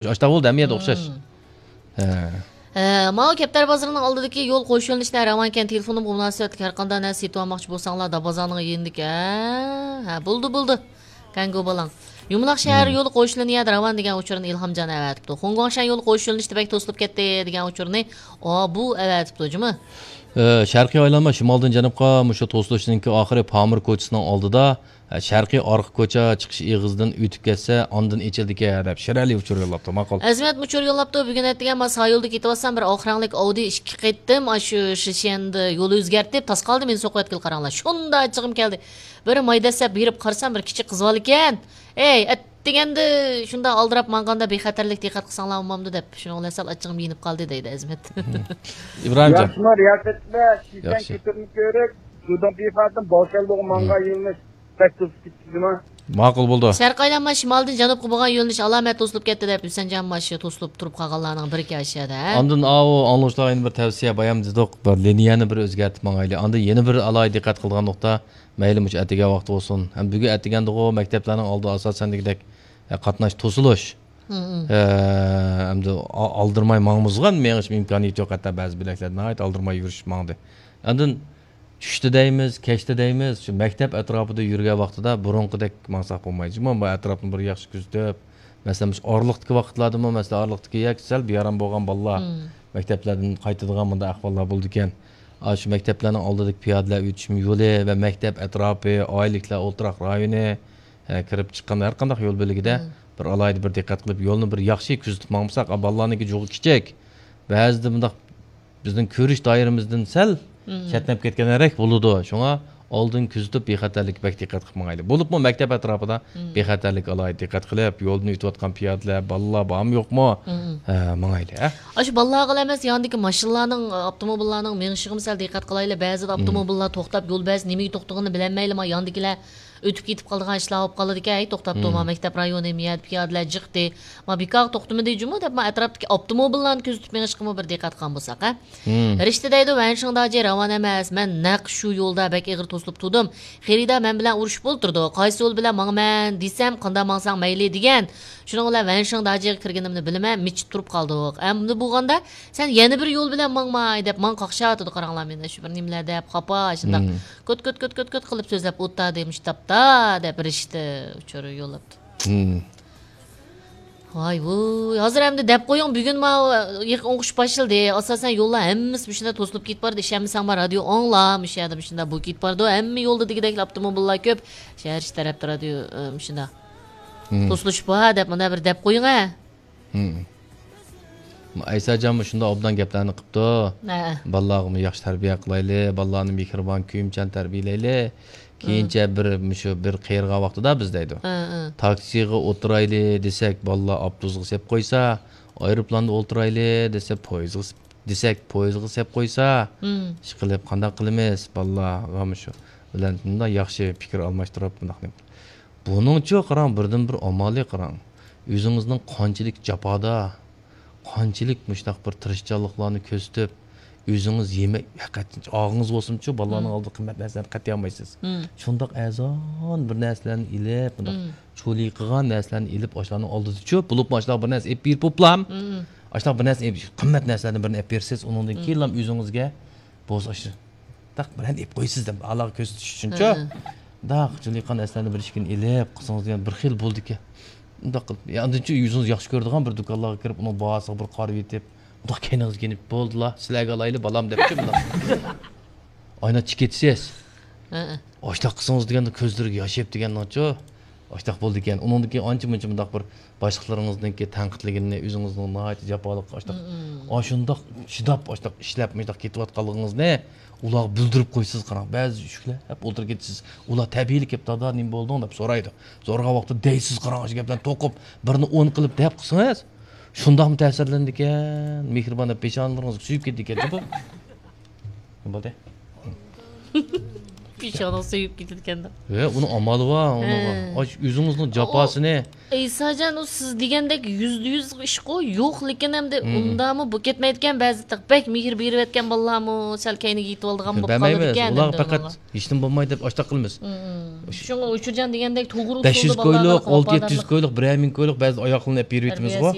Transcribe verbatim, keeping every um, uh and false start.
ئاشتاق بولدى، ھەممە يەردە ئوخشاش. ھە. ھە، ماۋۇ كەپتەر بازىرىنىڭ ئالدىدىكى يول قوش يۆنىلىشلەر راۋانكەن، تېلېفونۇمغا مۇناسىۋەتلىك ھەر قانداق نەرسە سېتىۋالماقچى بولساڭلار، دابازانىڭ يېنىدىكى، ھە، ھە، بولدى، بولدى. كەڭگۇ بالاڭ. يۇمىلاق شەھەر يولى قوش يۆنىلىش يەردە راۋان دېگەن ئۇچۇرنى ئىلھامجان ئەۋەتىپتۇ. خۇڭگۇاڭشەن يولى قوش يۆنىلىشتە بەك توسۇلۇپ كەتتى دېگەن ئۇچۇرنى ئابۇ ئەۋەتىپتۇ، جۇمۇ. ئە، شەرقىي ئايلانما شىمالدىن جەنۇبقا مۇشۇ توسۇلۇشنىڭكى ئاخىرى پامىر كوچىسىنىڭ ئالدىدا، ئە، شەرقىي ئارقا كوچا چىقىش ئېغىزىدىن ئۆتۈپ كەتسە، ئاندىن ئېچىلىدىكەن، دەپ شىرئەلى ئۇچۇر يوللاپتۇ. ماقۇل. ئەزىمەت ئۇچۇر يوللاپتۇ. بۈگۈن ئەتىگەن مانا سايولدا كېتىۋاتسام، بىر ئاق رەڭلىك ئاۋدى ئىككى قېتىم ئاشۇ شىشەندە يول ئۆزگەرتىپ، تاسقالدىن مېنى سوقۇۋەتكىلى قاراڭلار. شۇنداق ئاچچىقىم كەلدى. بىر ماي دەسسەپ بېرىپ قارىسام، بىر كىچىك قىز بالا ئىكەن. ئەي، ئەتىگەندە شۇنداق ئالدىراپ ماڭغاندا بىخەتەرلىك دىققەت قىلساڭلار بولمامدۇ دەپ، شۇنىڭ بىلەن سەل ئاچچىقىم يېنىپ قالدى دەيدۇ ئەزىمەت. ئىبراھىمجان. ياخشىمۇ رىياسەتچىلەر، شىشەن ياخشى. كۆتۈرمە كۆرۈك، جۇدۇڭ پىخادىن باۋشياندۇغا ماڭغان يۆنىلىش بەك توسۇپ كېتىپتىما؟ ماقۇل بولدى. شەرقىي ئايلانما شىمالدىن جەنۇبقا بولغان يۆنىلىش ئالامەت توسۇلۇپ كەتتى دەپ، ھۈسەنجان مانا شۇ توسۇلۇپ تۇرۇپ قالغانلارنىڭ بىرى ئىكەن ئاشۇ يەردە، ھە؟ ئاندىن ئاۋۇ ئاڭلىغۇچىلارغا يەنە بىر تەۋسىيە، بايام دېدۇق، بىر لىنىيەنى بىر ئۆزگەرتىپ ماڭايلى. ئاندىن يەنە بىر ئالاھىدە دىققەت قىلىدىغان نۇقتا، مەيلى مۇشۇ ئەتىگەن ۋاقتى بولسۇن، ھەم بۈگۈن ئەتىگەندىغۇ مەكتەپلەرنىڭ ئالدىدا ئاساسەن دېگۈدەك، ئە، قاتناش توسۇلۇش. ھە، ئەمدى ئا-، ئالدىرىماي ماڭمىزغان مېڭىش ئىمكانىيىتى يوق، ھەتتا بەزى بۆلەكلەردە ناھايىتى ئالدىرىماي يۈرۈشۈپ ماڭدى. ئاندىن چۈشتە دەيمىز، كەچتە دەيمىز، شۇ مەكتەپ ئەتراپىدا يۈرگەن ۋاقتىدا بۇرۇنقىدەك ماڭساق بولمايدۇ. جۇمۇ بۇ ئەتراپنى بىر ياخشى كۆزىتىپ، مەسىلەن، مۇشۇ ئارىلىقتىكى ۋاقىتلاردىمۇ، مەسىلەن، ئارىلىقتىكى ياكى سەل بىئارام بولغان بالىلار مەكتەپلەردىن قايتىدىغان مۇنداق ئەھۋاللار بولىدىكەن. ئاشۇ مەكتەپلەرنىڭ ئالدىدىكى پىيادىلەر ئۆتۈشمە يولى ۋە مەكتەپ ئەتراپى، ئائىلىلىكلەر ئولتۇراق رايونى، ھە، كىرىپ چىققان ھەر قانداق يول بۆلىكىدە بىر ئالاھىدە بىر دىققەت قىلىپ، يولنى بىر ياخشى كۆزىتىپ ماڭمىساق، ئا، بالىلارنىڭكى جۇغى كىچىك. بەزىدە مۇنداق بىزنىڭ كۆرۈش دائىرىمىزدىن سەل چەتنەپ كەتكەندەك بولىدۇ. شۇڭا ئالدىن كۆزىتىپ، بىخەتەرلىككە بەك دىققەت قىلىپ ماڭايلى. بولۇپمۇ مەكتەپ ئەتراپىدا بىخەتەرلىككە ئالاھىدە دىققەت قىلىپ، يولدىن ئۆتۈۋاتقان پىيادىلەر، بالىلار بارمۇ يوقمۇ؟ ھە، ماڭايلى، ھە؟ ئاشۇ بالىلارغىلا ئەمەس، ياندىكى ماشىنىلارنىڭ، ئاپتوموبىللارنىڭ مېڭىشىغىمۇ سەل دىققەت قىلايلى. بەزىدە ئاپتوموبىللار توختاپ، يول بەزىدە نېمىگە توختىغىنىنى بىلەلمەيلى، ما ياندىكىلەر ئۆتۈپ كېتىپ قالىدىغان ئىشلار بولۇپ قالىدىكەن. ھەي، توختاپتۇ، ما مەكتەپ رايونى، ما يەردە پىيادىلەر جىقتى، ما بىكارغا توختىمىدى جۇمۇ دەپ، ما ئەتراپتىكى ئاپتوموبىللارنى كۆزىتىپ مېڭىشقىمۇ بىر دىققەت قىلغان بولساق، ھە؟ رىشتە دەيدۇ، ۋەنشىڭ داجى راۋان ئەمەس، مەن نەق شۇ يولدا بەك ئېغىر توسۇلۇپ تۇردۇم. خېرىدار مەن بىلەن ئۇرۇشۇپ ئولتۇرىدۇ، قايسى يول بىلەن ماڭىمەن دېسەم، قانداق ماڭساڭ مەيلى دېگەن. شۇنىڭ بىلەن ۋەنشىڭ داجىغا كىرگىنىمنى بىلىمەن، مىچىپ تۇرۇپ قالدۇق. ئەمدى بولغاندا، سەن يەنە بىر يول بىلەن ماڭماي دەپ ماڭا قاقشاتىدۇ، قاراڭلار مېنى، شۇ بىر نېمىلەر دەپ، خاپا، شۇنداق كۆت، كۆت، كۆت، كۆت، كۆت قىلىپ سۆزلەپ ئولتۇردى، مۇشۇ تاپتا دەپ رىشتە ئۇچۇر يوللاپتۇ. ۋاي ۋۇي، ھازىر ئەمدى دەپ قويۇڭ، بۈگۈن ماۋۇ يېقىن ئوقۇش باشلىدى. ئاساسەن يوللار ھەممىسى مۇشۇنداق توسۇلۇپ كېتىپ بارىدۇ. ئىشەنمىسەڭ، ما رادىيو ئاڭلا، مۇشۇ يەردە مۇشۇنداق بولۇپ كېتىپ بارىدۇ. ھەممە يولدا دېگۈدەكلا ئاپتوموبىللار كۆپ. شەھەر ئىچى تەرەپتە رادىيو، ئە، مۇشۇنداق توسۇلۇش بار دەپ، مۇنداق بىر دەپ قويۇڭ، ھە. ئەيساجانمۇ شۇنداق ئوبدان گەپلەرنى قىپتۇ. ھە. بالىلارغىمۇ ياخشى تەربىيە قىلايلى، بالىلارنى مېھرىبان، كۆيۈمچان تەربىيەلەيلى. كېيىنچە بىر، مۇشۇ بىر قېرىغان ۋاقتىدا بىز دەيدۇ. ھە، ھە. تاكسىغا ئولتۇرايلى دېسەك، بالىلار ئاپتوبۇسقا سېپ قويسا، ئايروپىلاندا ئولتۇرايلى دېسە، پويىزغا سېپ، دېسەك، پويىزغا سېپ قويسا، ئىشقىلىپ قانداق قىلىمىز؟ بالىلارغا مۇشۇ بىلەن مۇنداق ياخشى پىكىر ئالماشتۇرۇپ، مۇنداق نېمە. بۇنىڭچۇ قاراڭ، بىردىنبىر ئامالى قاراڭ. ئۆزىڭىزنىڭ قانچىلىك جاپادا، قانچىلىك مۇشۇنداق بىر تىرىشچانلىقلارنى كۆرسىتىپ، ئۆزىڭىز يېمەك، ھەقىقەتەن ئاغزىڭىز بولسىمۇچۇ، بالىلارنىڭ ئالدىدا قىممەت نەرسىلەرنى قەتئىي ئالمايسىز. شۇنداق ئەرزان بىر نەرسىلەرنى ئېلىپ، مۇنداق چولىقىغان نەرسىلەرنى ئېلىپ، ئاشۇلارنىڭ ئالدىدىچۇ، بولۇپمۇ ئاشۇلارغا بىر نەرسە ئېلىپ بېرىپ بوپلام. ئاشۇنداق بىر نەرسە ئېلىپ، قىممەت نەرسىلەردىن بىرنى ئېلىپ بېرىسىز، ئۇنىڭدىن كېيىنلا ئۆزىڭىزگە بولسا ئاشۇ داق بىرەر ئېلىپ قويىسىز دەپ، ئالاغا كۆرسىتىش ئۈچۈنچۇ. داق، چولىقىغان نەرسىلەرنى بىر ئىككىنى ئېلىپ قىلسىڭىز دېگەن بىر خىل بولىدىكەن. ئۇنداق قىلىپ، يا ئاندىنچۇ ئۆزىڭىز ياخشى كۆرىدىغان بىر دۇكانلارغا كىرىپ، ئۇنىڭ باھاسىغا بىر قارىۋېتىپ، ئۇنداق كەينىڭىزگە يېنىپ، بولدىلا، سىلەرگە ئالايلى، بالام، دەپچۇ مۇنداق. ئاينا چىكىتىسىز. ئاشۇنداق قىلسىڭىز دېگەندە كۆزلىرىگە ياش ئېلىپ دېگەننىڭچۇ. ئاشۇنداق بولىدىكەن. ئۇنىڭدىن كېيىن ئانچە-مۇنچە مۇنداق بىر باشلىقلىرىڭىزنىڭكى تەنقىدلىگىنىنى، ئۆزىڭىزنىڭ ناھايىتى جاپالىق، ئاشۇنداق، ئاشۇنداق چىداپ، ئاشۇنداق ئىشلەپ، مۇشۇنداق كېتىۋاتقانلىقىڭىزنى ئۇلارغا بىلدۈرۈپ قويىسىز، قاراڭ. بەزى ئۈششۈكلەپ ئولتۇرۇپ كېتىسىز. ئۇلار تەبىئىيلا كېلىپ، «دادا، نېمە بولدۇڭ؟» دەپ سورايدۇ. سورىغان ۋاقىتتا دەيسىز، قاراڭ، ئاشۇ گەپلەرنى توقۇپ، بىرنى ئون قىلىپ دەپ قىلسىڭىز، شۇنداقمۇ تەسىرلىنىدىكەن، مېھرىبان دەپ پېشانىلىرىڭىزغا سۆيۈپ كېتىدىكەن، جۇمۇ. نېمە بولدى؟ پېشانىغا سۆيۈپ كېتىدىكەن دەپ. ۋە ئۇنىڭ ئامالى بار ئۇنىڭغا. ھە. ئاش ئۆزىڭىزنىڭ جاپاسىنى. ئەيساجان، ئۇ سىز دېگەندەك يۈزدە يۈز ئىشقۇ يوق، لېكىن ئەمدى ئۇندامۇ بۇ كەتمەيدىكەن. بەزى بەك مېھىر بېرىۋەتكەن بالىلارمۇ سەل كەينىگە يېتىۋالىدىغان بولۇپ بەرمەيمىز. قالىدىكەن. ئۇلارغا پەقەت ھېچنېمە بولمايدۇ دەپ ئاشتاق قىلىمىز. شۇڭا ئۇچۇرجان دېگەندەك توغرا بەش يۈز كويلۇق، ئالتە يەتتە يۈز كويلۇق، بىرەر مىڭ كويلۇق بەزى ئاياغلىرىنى ئەپ بېرىۋېتىمىزغۇ.